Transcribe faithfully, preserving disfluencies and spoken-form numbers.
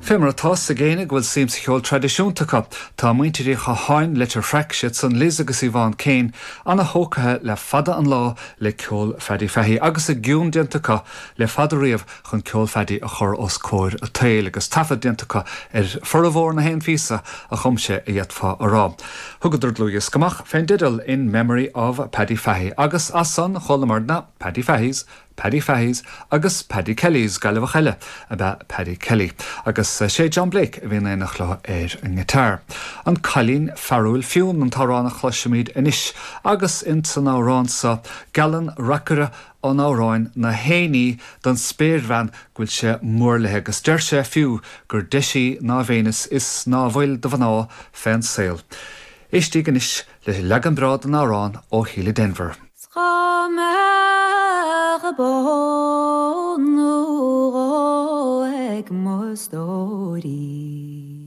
Fé mar atá ag éinne go bhfuil suim sa cheol traidisiúnta acu, tá muintir Uí Chatháin Leitir Fraic siad san Liz agus Yvonne Kane an-thógtha le fada an lá le ceol Phaddy Fahey agus a gcion déanta acu le fada riamh chun ceol Phaddy a chur os comhair an tsaoil agus taifead déanta acu ar formhór na haon phíosa a chum sé a d'fhéadfá a rá. Thugadar dlúthdhiosca amach fén dteideal in memory of Paddy Fahey agus as san chualamar na Paddy Faheys, Paddy Faheys agus Paddy Kellys Gaillimheach eile ab ea Paddy Kelly, agus sé John Blake a bhí in éineacht leo ar an ngiotár. An Cailín Fearúil Fionn an t-amhrán a chloisimid anois agus in san amhrán seo geallann reacaire an amhráin na haon ní don spéirbhean go bhfuil sé mór léi agus deir sé fiú gur deise í ná Véineas is ná fuil de mhná fén saol. Éistigí anois le leagan breá den amhrán ó Shíle Denvir. Dá mbeadh bó nó dhó ag mo stóirín.